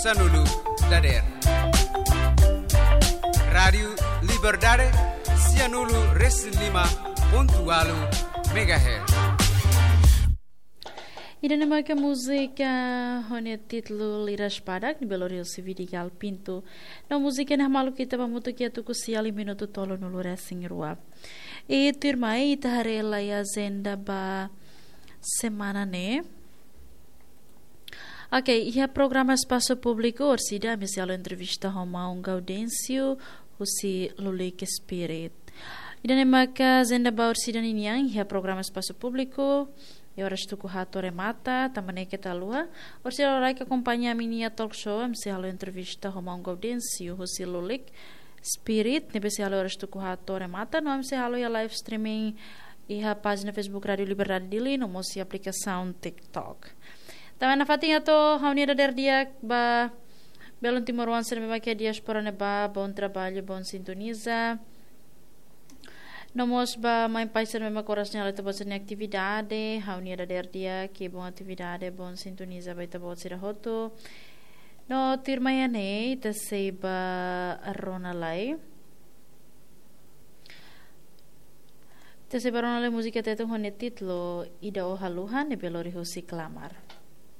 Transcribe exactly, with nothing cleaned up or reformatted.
Sanulu dader. Rádiu Liberdade, sianulu resin lima pontu walu megahertz. Ida-ne'e maka múzika ho nia títulu Liras Badak, ne'ebé lori husi Vidigal Pinto. No múzika ne'e hamaluk ita ba hamutuk iha tuku sia liu minutu tolunulu resin rua. I tuirmai ita haree lai ajenda ba semana ne'e. Ok, iha programa Espasu Públiku orsida ami sei halo entrevista ho maun Gaudêncio husi Lulik Spirit. Ida-ne'e maka ajenda ba orsida ninian iha programa Espasu Públiku. Iha oras tuku haat to'o remata, tanba ne'e keta haluha. Orsida loraik akompaña ami-nia talk show, ami sei halo entrevista ho maun Gaudêncio husi Lulik Spirit, ne'ebé sei halo oras tuku haat to'o remata, no ami sei halo iha live streaming iha pájina Facebook Rádiu Liberdade Dili, no mós iha aplikasaun TikTok. Tanba ne'e nafatin atu ha'u-nia dadeer di'ak ba belun timoroan sira ne'ebé mak iha diáspora ne'ebá, bom trabalho, bom sintoniza. No mós ba mãe pai sira ne'ebé mak oras ne'e halo ita-boot sira-nia atividade, ha'u-nia dadeer di'ak, bom atividade, bom sintoniza ba ita-boot sira hotu. No tuirmai ne'e, ita sei bá rona lai. Ita sei bá rona lai múzika Tetun ho nia títulu Ida Ó Haluha, ne'ebé lori husi Klamar.